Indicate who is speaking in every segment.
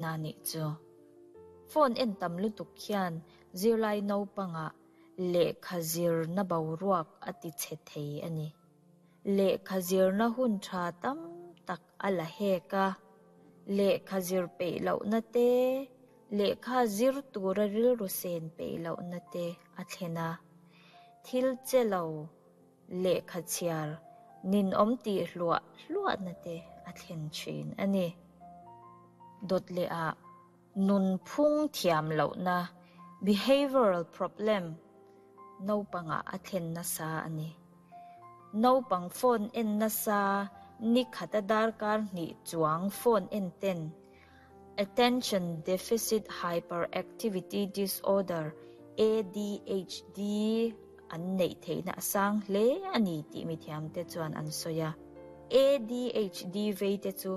Speaker 1: Na nih chu. Phone en tam lutuk hian zirlai naupangah lehkha zirna boruak a ti chhe thei a ni. Lehkha zirna hun tha tam tak a la hek a, lehkha zir peih lohna te, lehkha zir tura rilru sen peih lohna te a thlen a. Thil che lo lehkha chhiar ninawm tih hluah hluahna te a thlen thin a ni. Dawt leh ah nunphung thiam lohna, behavioural problem, naupangah a thlen nasa a ni. Naupang phone en nasa ni khata darkar hnih chuang phone en ten Attention Deficit Hyperactivity Disorder, ADHD, an neih theihna a sang hle a ni tih mithiamte chuan an sawi a. ADHD veite chu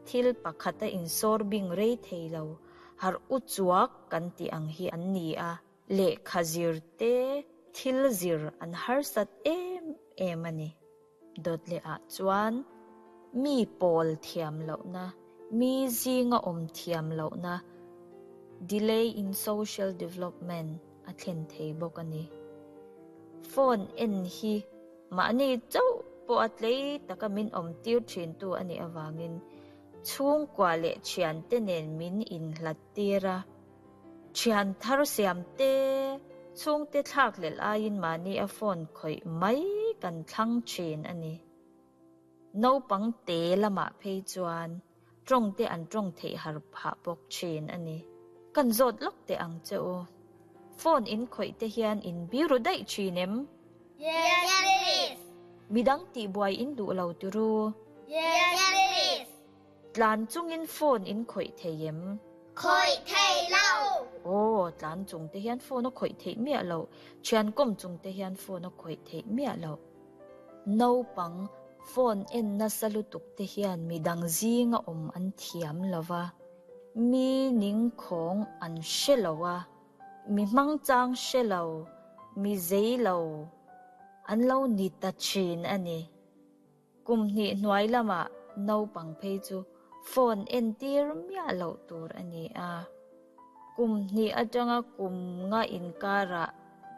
Speaker 1: thil pakhata insawr bing rei thei lo, harh u chuak kan tih ang hi an ni a, lehkha zir te thil zir an harsat em em a ni. Dawt leh ah chuan mi pawl thiam lohna, mi zinga awm thiam lohna, delay in social development, a thlen thei bawk a ni. Phone en hi mahni chauh pawh a tlei taka min awm tir thintu a nih avangin chhungkua leh thiante nen min inhlat tir a. Thian thar siam te, chhungte thlak hlelh aiin mahni a phone khawih mai kan thlang thin a ni. Naupang te lamah phei chuan tawng te an tawng theih har phah bawk thin a ni. Kan zawt lawk teh ang che u. Phone in khawih te hian in biru daih thin em?
Speaker 2: Yes please.
Speaker 1: Midang tihbuai in duh lo tiru?
Speaker 2: Yes please.
Speaker 1: Tlan chungin phone in khawih thei em?
Speaker 2: Khawih thei lo.
Speaker 1: Aw, tlan chung te hian phone a khawih theih miah loh, thian kawm chung te hian phone a khawih theih miah loh. Naupang phone en nasa lutuk te hian midang zinga awm an thiam lo va, mi ningkhawng an hre lo a, mi hmangchang hre lo, mi zei lo an lo ni ta thin a ni. Kum hnih hnuai lamah naupang phei chu phone entir miah loh tur a ni a. Kum hnih atanga kum nga inkarah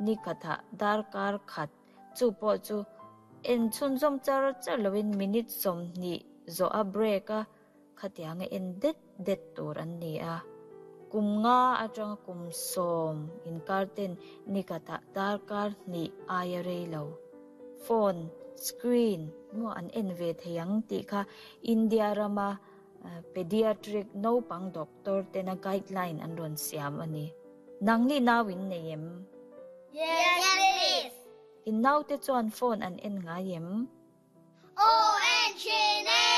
Speaker 1: ni khatah darkar khat chu pawh chu en chhunzawm char char loin minute 20 zawh a break a Khatianga en det det tur an ni a. Kum nga atanga kum sawm inkar ten nikhatah darkar hnih aia rei lo. Phone screen maw an en ve thei ang tih kha India rama pediatric naupang doctor tena guideline an rawn siam a ni. Nangni nau in nei em?
Speaker 2: Yes please.
Speaker 1: In naute chuan phone an en ngai em?
Speaker 2: Aw en thin e!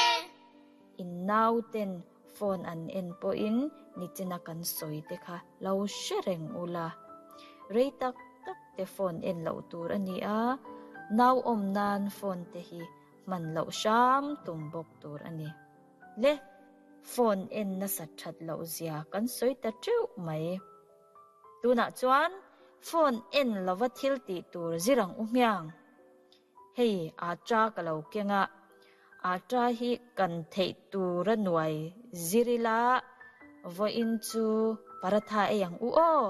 Speaker 1: In nauten phone an en pawhin nichina kan sawi te kha lo hre reng ula. Rei tak tak te phone en loh tur a ni a, nau awm nan phone te hi hman loh hram tum bawk tur a ni. Le, phone en nasat that loh zia kan sawi ta teuh mai. Tunah chuan phone en lova thil tih tur zir ang u hmiang. Hei atta ka lo keng a, atta hi kan theih tur a nuai zir ila, vawiin chu paratha ei ang u aw!